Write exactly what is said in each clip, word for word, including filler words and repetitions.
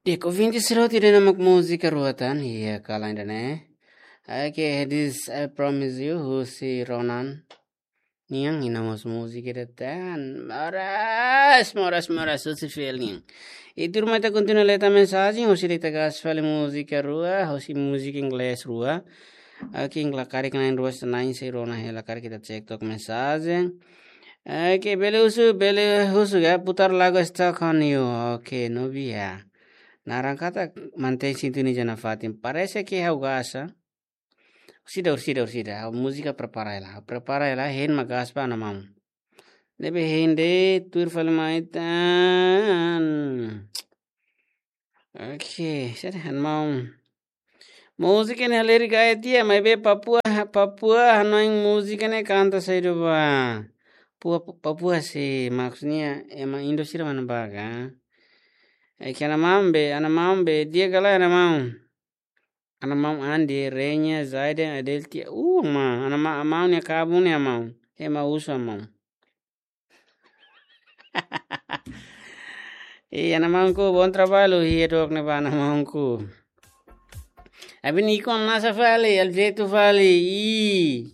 Di'ak ouvinte sira hotu, ida-ne'e mak múzika rua tan, iha kala ida-ne'e. Oke, This I Promise You, husi Ronan nian, iha mós múzika ida tan. Moras, moras, moras, husi Fel nian. I tuirmai ita kontinua lee tan mensajen, husi ita gas fali múzika rua, husi múzika inglés rua. Oke, inglés karik lain rua senain sei rona hela karik ita cek tok mensajen. Oke, bele husu, bele husu ka, putar lagu Stuck on You. Oke, no via. Naran katak mantein sintonia ona nafatin. Parese ke ha'u gasta. Orsida, orsida, orsida. Ha'u múzika prepara hela. Ha'u prepara hela, hein mak gas ba, Ana Maun. Ne'ebé hein de'it, tuir fali mai tan. Oke, sede, Ana Maun. Múzika ne'e halerik gaya tiha, maibé Papua, Papua hanoin múzika ne'e kanta saida ba. Papua, Papua sei, maksudnya ema Indo sira mana ba ka. Oke, Ana Maun be, Ana Maun be, di'ak ka lae Ana Maun. Ana Maun Andi, Renya, Zaiden, Adeltia. Uh, Ana Maun, Ana Maun nia kabun nia Ana Maun. Ema husu Ana Maun. Ih, Ana Maunku, bom trabalho, ih, dok ne ba Ana Maunku. Abin ikon nasa fali, aljetu fali, ih.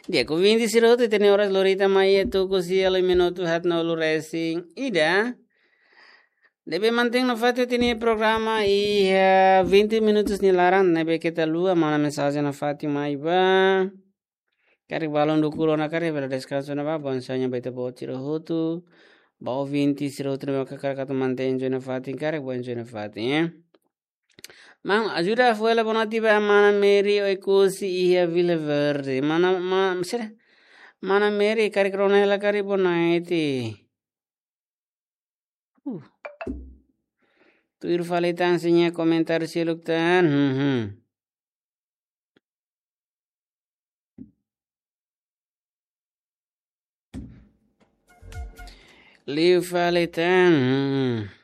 Di'ak ouvinte sira hotu, ita-nia oras lorita mai iha tuku sia liu minutu haatnulu resin ida. Ne'ebé mantein nafatin ita-nia programa iha vinte minutos nia laran, ne'ebé keta haluha, mana mensajen nafatin mai ba. Karik balun dukur ona karik bele deskansa ona ba, bom sonho ba ita-boot sira hotu. Ba ouvinte sira hotu ne'ebé karik atu mantein enjoy nafatin, karik bom enjoy nafatin, eh. Maun, ajuda fó hela boa noite ba Mana Mary Oekusi iha Vila Verde. Mana, ma, sira. Mana Mary, karik rona hela karik boa noite. Uh. Tuir fali tan sira-nia komentáriu seluk tan. Hmm, hmm. Liu fali tan. Hmm.